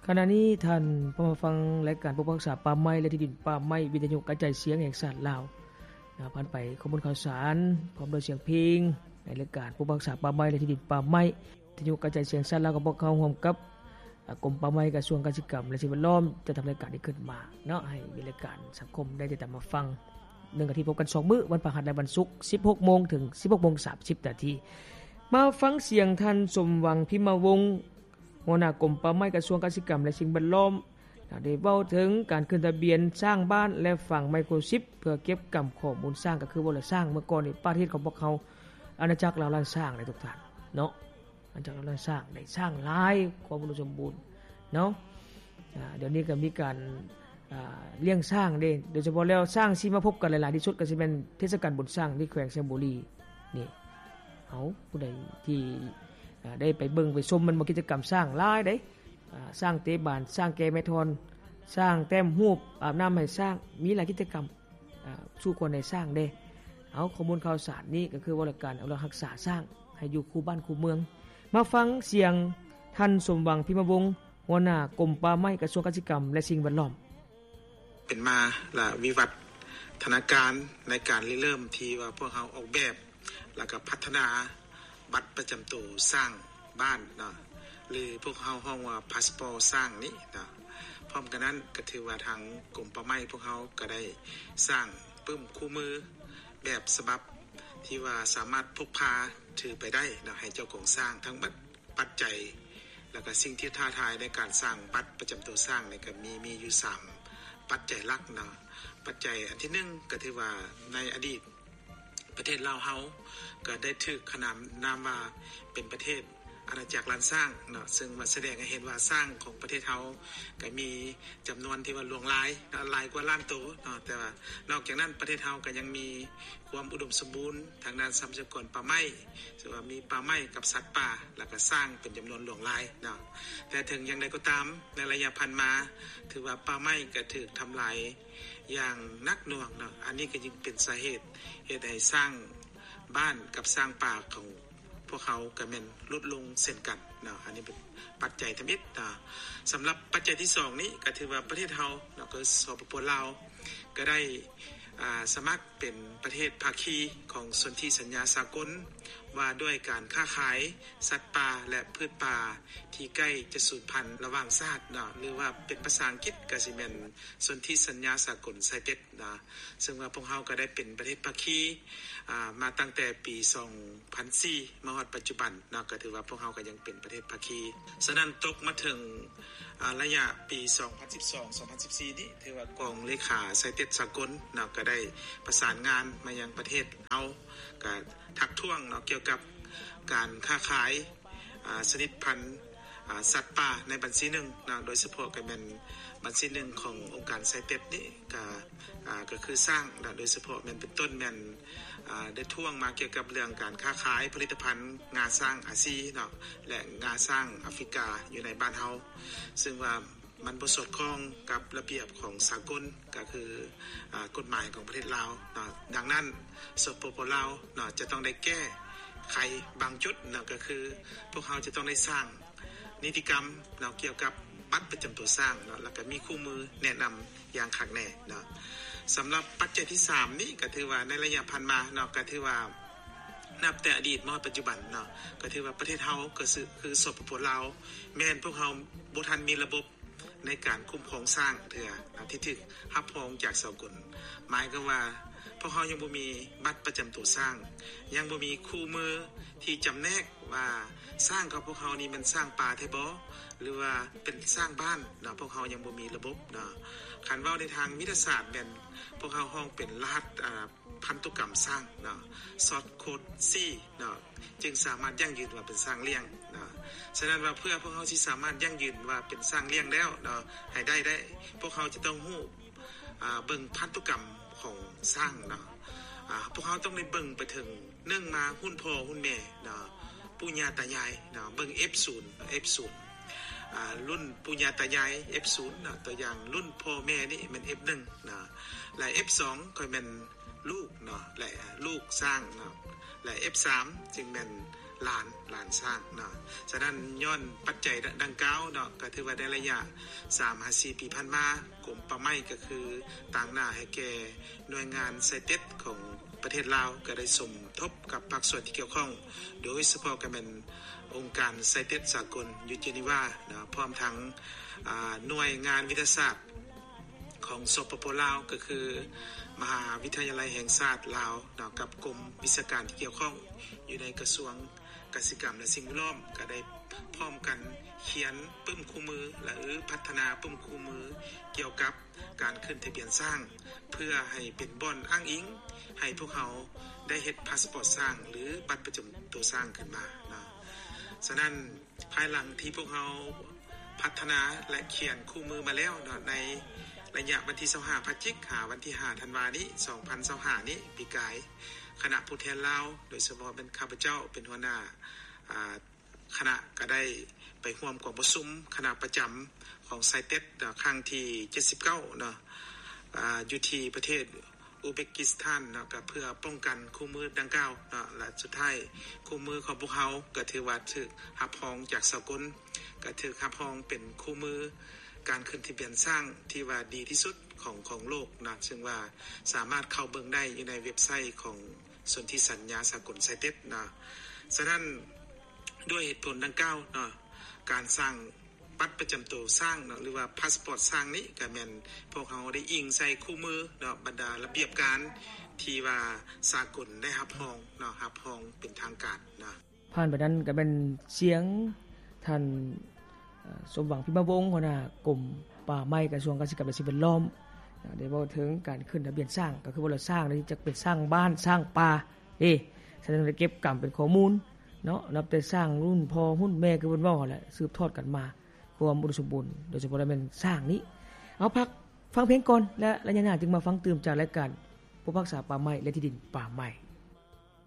ຂະນະນີ້ທ່ານພາມາຟັງລາຍການປົກປັກຮັກສາປ່າໄມ້ ແລະ ທີ່ດິນປ່າໄມ້ ວິທະຍຸກະຈາຍສຽງແຫ່ງຊາດລາວ. ນະ ຜ່ານໄປຂໍ້ມູນຂ່າວສານ ພ້ອມດ້ວຍສຽງເພງ ໃນລາຍການປົກປັກຮັກສາປ່າໄມ້ ແລະ ທີ່ດິນປ່າໄມ້ ວິທະຍຸກະຈາຍສຽງຊາດລາວ ກັບພວກເຮົາຮ່ວມກັບ ອາ ກົມປ່າໄມ້ ກະຊວງກະສິກຳ ແລະ ສິ່ງແວດລ້ອມ ຈັດທຳລາຍການນີ້ຂຶ້ນມາເນາະ ໃຫ້ມີລາຍການສັງຄົມໄດ້ຕິດຕາມມາຟັງ. ໜຶ່ງອາທິດພົບກັນສອງມື້ ວັນພະຫັດ ແລະ ວັນສຸກ ສິບຫົກໂມງ ເຖິງ ສິບຫົກໂມງ ສາມສິບນາທີ. ມາຟັງສຽງທ່ານ ສົມຫວັງ ພິມມະວົງ ຫົວໜ້າກົມປ່າໄມ້ ກະຊວງກະສິກຳ ແລະ ສິ່ງແວດລ້ອມ ໄດ້ເວົ້າເຖິງການຂຶ້ນທະບຽນສ້າງບ້ານ ແລະ ຝັງໄມໂຄຣຊິບ ເພື່ອເກັບກຳຂໍ້ມູນຊ້າງ ກໍຄືວ່າລະຊ້າງເມື່ອກ່ອນນີ້ ປະເທດຂອງພວກເຮົາ ອານາຈັກລາວລ້ານຊ້າງເດ້ທຸກທ່ານເນາະ ອານາຈັກລາວລ້ານຊ້າງ ໄດ້ຊ້າງຫຼາຍ ຄວາມອຸດົມສົມບູນເນາະ. ອາ ດຽວນີ້ກໍມີການ ອາ ລ້ຽງຊ້າງເດ້ ໂດຍສະເພາະແລ້ວຊ້າງຊິມາພົບກັນຫຼາຍໆທີ່ສຸດ ກໍຊິແມ່ນເທດສະການບຸນຊ້າງທີ່ແຂວງໄຊຍະບູລີນີ້. ເອົາ ຜູ້ໃດທີ່ ອາ ໄດ້ໄປເບິ່ງໄປຊົມ ມັນບໍ່ ກິດຈະກຳຊ້າງຫຼາຍເດ້ ອາ ຊ້າງເຕະບານ ຊ້າງແກ່ແມ່ທ່ອນ ຊ້າງແຕ້ມຮູບ ອາບນ້ຳໃຫ້ຊ້າງ ມີຫຼາຍກິດຈະກຳ ອາ ສູ່ຄົນໃຫ້ຊ້າງເດ້. ເອົາ ຂໍ້ມູນຂ່າວສານນີ້ກໍຄືວ່າລາຍການອະນຸລັກຮັກສາຊ້າງໃຫ້ຢູ່ຄູ່ບ້ານຄູ່ເມືອງ. ມາຟັງສຽງທ່ານ ສົມຫວັງ ພິມມະວົງ ຫົວໜ້າກົມປ່າໄມ້ ກະຊວງກະສິກຳ ແລະ ສິ່ງແວດລ້ອມ. ເປັນມາລະວິວັດທະນາການໃນການລິເລີ່ມທີ່ວ່າພວກເຮົາອອກແບບ ແລ້ວກໍພັດທະນາບັດປະຈຳໂຕຊ້າງບ້ານເນາະ ຫຼື ພວກເຮົາຮ້ອງວ່າພາສປອດຊ້າງນີ້ເນາະ. ພ້ອມກັນນັ້ນກໍຖືວ່າທາງກົມປ່າໄມ້ພວກເຮົາກໍໄດ້ສ້າງປຶ້ມຄູ່ມືແບບສະບັບທີ່ວ່າສາມາດພົກພາຖືໄປໄດ້ເນາະ ໃຫ້ເຈົ້າຂອງຊ້າງທັງໝົດ. ປັດໄຈ ແລ້ວກະສິ່ງທີ່ທ້າທາຍໃນການສ້າງບັດປະຈຳໂຕຊ້າງນີ້ກະມີ ມີຢູ່ສາມປັດໄຈຫຼັກເນາະ. ປັດໄຈອັນທີໜຶ່ງກະຖືວ່າໃນອະດີດປະເທດລາວເຮົາກະໄດ້ຖືກຂະໜານນາມວ່າເປັນປະເທດອານາຈັກລ້ານຊ້າງເນາະ ເຊິ່ງວ່າສະແດງໃຫ້ເຫັນວ່າຊ້າງຂອງປະເທດເຮົາກະມີຈຳນວນທີ່ວ່າຫຼວງຫຼາຍເນາະ ຫຼາຍກວ່າລ້ານໂຕເນາະ. ແຕ່ວ່ານອກຈາກນັ້ນປະເທດເຮົາກະຍັງມີ ຄວາມອຸດົມສົມບູນທາງດ້ານຊັບພະຍາກອນປ່າໄມ້ ເຊິ່ງວ່າມີປ່າໄມ້ກັບສັດປ່າ ແລ້ວກະຊ້າງເປັນຈຳນວນຫຼວງຫຼາຍເນາະ. ແຕ່ເຖິງຢ່າງໃດກໍຕາມ ໃນໄລຍະຜ່ານມາ ຖືວ່າປ່າໄມ້ກະຖືກທຳລາຍຢ່າງໜັກໜ່ວງເນາະ. ອັນນີ້ກະຈຶ່ງເປັນສາເຫດເຮັດໃຫ້ຊ້າງບ້ານກັບຊ້າງປ່າຂອງ ພວກເຮົາກະແມ່ນຫຼຸດລົງເຊັ່ນກັນເນາະ. ອັນນີ້ເປັນປັດໄຈທຳອິດເນາະ. ສຳລັບປັດໄຈທີສອງນີ້ກະຖືວ່າປະເທດເຮົາເນາະ ກໍ ສປປ ລາວ ກະໄດ້ ອາ ສະໝັກເປັນປະເທດພາຄີຂອງສົນທິສັນຍາສາກົນວ່າດ້ວຍການຄ້າຂາຍສັດປ່າ ແລະ ພືດປ່າທີ່ໃກ້ຈະສູນພັນລະຫວ່າງຊາດເນາະ ຫຼືວ່າເປັນພາສາອັງກິດກະຊິແມ່ນສົນທິສັນຍາສາກົນໄຊເຕັດ ນະ ເຊິ່ງວ່າພວກເຮົາກໍໄດ້ເປັນປະເທດພາຄີ ອາ ມາຕັ້ງແຕ່ປີສອງພັນສີ່ມາຮອດປັດຈຸບັນເນາະ ກໍຖືວ່າພວກເຮົາກໍຍັງເປັນປະເທດພາຄີ. ສະນັ້ນຕົກມາເຖິງ ອາ ໄລຍະປີສອງພັນສິບສອງ ສອງພັນສິບສີ່ນີ້ ຖືວ່າກອງເລຂາໄຊເຕັດສາກົນເນາະ ກໍໄດ້ປະສານງານມາຍັງປະເທດເຮົາ ກໍທັກທ້ວງເນາະ ກ່ຽວກັບການຄ້າຂາຍ ອາ ຊະນິດພັນ ອາ ສັດປ່າໃນບັນຊີໜຶ່ງເນາະ ໂດຍສະເພາະກໍແມ່ນບັນຊີໜຶ່ງຂອງອົງການໄຊເຕັດນີ້ ກະ ອາ ກໍຄືຊ້າງເນາະ ໂດຍສະເພາະແມ່ນເປັນຕົ້ນແມ່ນ ອາ ໄດ້ທ້ວງມາກ່ຽວກັບເລື່ອງການຄ້າຂາຍຜະລິດຕະພັນງາຊ້າງອາຊີເນາະ ແລະ ງາຊ້າງອາຟຣິກາຢູ່ໃນບ້ານເຮົາ ເຊິ່ງວ່າ ມັນບໍ່ສອດຄ່ອງກັບລະບຽບຂອງສາກົນ ກໍຄື ອາ ກົດໝາຍຂອງປະເທດລາວເນາະ. ດັ່ງນັ້ນ ສປປ ລາວເນາະ ຈະຕ້ອງໄດ້ແກ້ໄຂບາງຈຸດເນາະ ກໍຄືພວກເຮົາຈະຕ້ອງໄດ້ສ້າງນິຕິກຳເນາະ ກ່ຽວກັບບັດປະຈຳຕົວຊ້າງເນາະ ແລ້ວກໍມີຄູ່ມືແນະນຳຢ່າງຄັກແນ່ເນາະ. ສຳລັບປັດໄຈທີສາມນີ້ ກໍຖືວ່າໃນໄລຍະຜ່ານມາເນາະ ກໍຖືວ່ານັບແຕ່ອະດີດມາຮອດປັດຈຸບັນເນາະ ກໍຖືວ່າປະເທດເຮົາ ກໍຄື ສປປ ລາວ ແມ່ນພວກເຮົາບໍ່ທັນມີລະບົບ ໃນການຄຸ້ມຄອງຊ້າງເທື່ອ ທີ່ຖືກຮັບຮອງຈາກສາກົນ. ໝາຍຄວາມວ່າ ພວກເຮົາຍັງບໍ່ມີບັດປະຈຳໂຕຊ້າງ, ຍັງບໍ່ມີຄູ່ມືທີ່ຈຳແນກວ່າຊ້າງຂອງພວກເຮົານີ້ແມ່ນຊ້າງປ່າແທ້ບໍ່ ຫຼືວ່າເປັນຊ້າງບ້ານເນາະ, ພວກເຮົາຍັງບໍ່ມີລະບົບເນາະ. ຄັນເວົ້າໃນທາງວິທະຍາສາດແມ່ນ ພວກເຮົາຮ້ອງເປັນລະຫັດ ອາ ພັນທຸກຳຊ້າງເນາະ, ຊອດໂຄດຊີເນາະ, ຈຶ່ງສາມາດຢັ້ງຢືນວ່າເປັນຊ້າງລ້ຽງເນາະ. ສະນັ້ນວ່າ ເພື່ອພວກເຮົາຊິສາມາດຢັ້ງຢືນວ່າເປັນຊ້າງລ້ຽງແລ້ວເນາະ ໃຫ້ໄດ້ ໄດ້ ພວກເຮົາຈະຕ້ອງຮູ້ ອາ ເບິ່ງພັນທຸກຳຂອງຊ້າງເນາະ. ອາ ພວກເຮົາຕ້ອງໄດ້ເບິ່ງໄປເຖິງ ໜຶ່ງມາ ຮຸ່ນພໍ່ຮຸ່ນແມ່ເນາະ, ປູ່ຍ່າຕາຍາຍເນາະ, ເບິ່ງ ເອັຟສູນ ເອັຟສູນ ອາ ລຸ້ນປູ່ຍ່າຕາຍາຍ ເອັຟສູນ ເນາະ, ຕົວຢ່າງລຸ້ນພໍ່ແມ່ນີ້ແມ່ນ ເອັຟໜຶ່ງ ເນາະ, ແລະ ເອັຟສອງ ຄ່ອຍແມ່ນ ລູກເນາະ ແລະ ລູກຊ້າງເນາະ ແລະ ເອັຟສາມ ຈຶ່ງແມ່ນ ຫຼານ ຫຼານຊ້າງເນາະ. ສະນັ້ນ ຍ້ອນປັດໄຈດັ່ງກ່າວເນາະ ກໍຖືວ່າໃນໄລຍະສາມຫາສີ່ປີຜ່ານມາ ກົມປ່າໄມ້ກໍຄືຕາງໜ້າໃຫ້ແກ່ໜ່ວຍງານໄຊເຕັດຂອງປະເທດລາວ ກໍໄດ້ສົມທົບກັບພາກສ່ວນທີ່ກ່ຽວຂ້ອງ ໂດຍສະເພາະກໍແມ່ນອົງການໄຊເຕັດສາກົນຢູ່ເຈນີວາເນາະ ພ້ອມທັງ ອາ ໜ່ວຍງານວິທະຍາສາດ ຂອງ ສປປ ລາວ ກໍຄືມະຫາວິທະຍາໄລແຫ່ງຊາດລາວເນາະ ກັບກົມວິຊາການທີ່ກ່ຽວຂ້ອງຢູ່ໃນກະຊວງກະສິກຳ ແລະ ສິ່ງແວດລ້ອມ ກໍໄດ້ພ້ອມກັນຂຽນປຶ້ມຄູ່ມື ຫຼື ພັດທະນາປຶ້ມຄູ່ມື ກ່ຽວກັບການຂຶ້ນທະບຽນຊ້າງ ເພື່ອໃຫ້ເປັນບ່ອນອ້າງອີງໃຫ້ພວກເຮົາໄດ້ເຮັດພາສປອດຊ້າງ ຫຼື ບັດປະຈຳໂຕຊ້າງຂຶ້ນມາເນາະ. ສະນັ້ນ ພາຍຫຼັງທີ່ພວກເຮົາພັດທະນາ ແລະ ຂຽນຄູ່ມືມາແລ້ວເນາະ ໃນໄລຍະວັນທີຊາວຫ້າພະຈິກ ຫາວັນທີຫ້າທັນວານີ້ ສອງພັນຊາວຫ້ານີ້ ປີກາຍ ຄະນະຜູ້ແທນລາວ ໂດຍສະເພາະແມ່ນຂ້າພະເຈົ້າເປັນຫົວໜ້າ ອາ ຄະນະ ກໍໄດ້ໄປຮ່ວມກອງປະຊຸມຄະນະປະຈຳຂອງໄຊເຕັດ ເນາະ ຄັ້ງທີເຈັດສິບເກົ້າເນາະ ອາ ຢູ່ທີ່ປະເທດ ອູເບກກິສຖານເນາະ ກໍເພື່ອປ້ອງກັນຄູ່ມືດັ່ງກ່າວເນາະ ແລະ ສຸດທ້າຍຄູ່ມືຂອງພວກເຮົາກໍຖືວ່າຖືກຮັບຮອງຈາກສາກົນ ກໍຖືກຮັບຮອງເປັນຄູ່ມືການຂຶ້ນທະບຽນຊ້າງທີ່ວ່າດີທີ່ສຸດຂອງ ຂອງໂລກເນາະ ເຊິ່ງວ່າສາມາດເຂົ້າເບິ່ງໄດ້ຢູ່ໃນເວັບໄຊຂອງສົນທິສັນຍາສາກົນໄຊເຕັດເນາະ. ສະນັ້ນ ດ້ວຍເຫດຜົນດັ່ງກ່າວເນາະ ການສ້າງ ບັດປະຈຳໂຕຊ້າງເນາະ ຫຼືວ່າພາສປອດຊ້າງນີ້ ກໍແມ່ນພວກເຮົາໄດ້ອີງໃສ່ຄູ່ມືເນາະ ບັນດາລະບຽບການທີ່ວ່າສາກົນໄດ້ຮັບຮອງເນາະ ຮັບຮອງເປັນທາງການເນາະ. ຜ່ານໄປນັ້ນກໍແມ່ນສຽງທ່ານ ເອີ ສົມຫວັງ ພິມມະວົງ ຫົວໜ້າກົມປ່າໄມ້ ກະຊວງກະສິກຳ ແລະ ສິ່ງແວດລ້ອມ ໄດ້ເວົ້າເຖິງການຂຶ້ນທະບຽນຊ້າງ ກໍຄືວ່າຊ້າງນີ້ຈະເປັນຊ້າງບ້ານ ຊ້າງປ່າເດ້. ສະນັ້ນໄດ້ເກັບກຳເປັນຂໍ້ມູນເນາະ ນັບແຕ່ຊ້າງລຸ້ນພໍ່ຮຸ່ນແມ່ ຄືເພິ່ນເວົ້າຫັ້ນແຫຼະ ສືບທອດກັນມາ ຄວາມອຸດົມສົມບູນ ໂດຍສະເພາະແມ່ນຊ້າງນີ້. ເອົາ ພັກຟັງເພງກ່ອນ ແລະ ໄລຍະໜ້າຈຶ່ງມາຟັງຕື່ມຈາກລາຍການຜູ້ພິພາກສາປ່າໄມ້ ແລະ ທີ່ດິນປ່າໄມ້.